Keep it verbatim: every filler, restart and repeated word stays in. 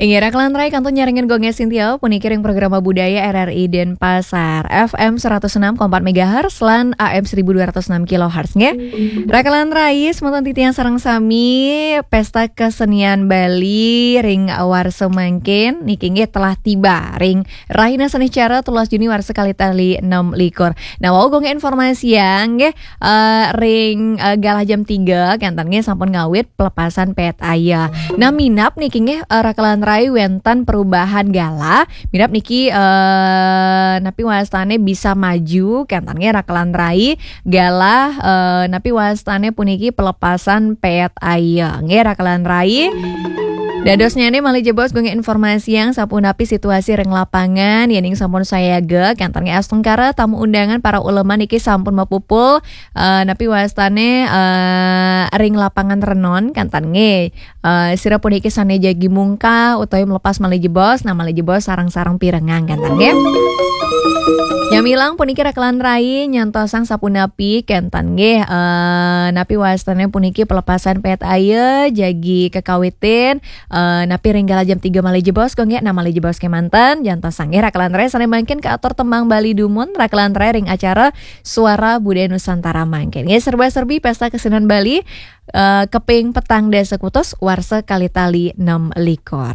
Inggih, Rakelan Rai kantun nyarengin Gung Sintia, puniki ring programa budaya R R I Denpasar, F M seratus enam koma empat megahertz lan A M seribu dua ratus enam kilohertz, nggih. Rakelan Rai, semeton titiang sareng sami, Pesta Kesenian Bali ring warsa mangkin niki nggih telah tiba ring rahina Seniscara telulas Juni warsa kalih tali enam likur. Nah, wau Gung informasiang nggih, eh, ring, eh, galah jam tiga, kenten nggih sampun ngawit pelepasan pet aya. Nah, minab niki nggih, eh, Rakelan Rai wenten perubahan galah. Minab niki, eh, napi wastane bisa maju, kenten nggih Rakelan Rai galah, eh, napi wastane puniki pelepasan pet aya. Nggih Rakelan Rai. Dadosnyane malih jebos Gung informasiang sapunapi situasi ring lapangan, yening sampun sayaga, kenten nggih astungkara tamu undangan para ulama niki sampun mapupul, eh, napi wastane, eh, ring lapangan renon, kenten nggih. Eh, sira puniki sane jagi mungkah utawi melepas malih jebos, nah malih jebos sareng-sareng pirengang, kenten nggih. Nyamilang puniki Rakelan Rai nyantosang sapunapi, kenten nggih. Eh, napi wastane puniki pelepasan pet aya jagi kekawitin, eh, napi ring galah jam tiga malih jebos, Gung nggih, nah malih jebos kemanten, nyantosang nggih Rakelan Rai sane mangkin kaatur tembang Bali dumun, Rakelan Rai ring acara Suara Budaya Nusantara mangkin. Nggih, serba-serbi Pesta Kesenian Bali, eh, keping petang dasa kutus warsa kalih tali enam likur.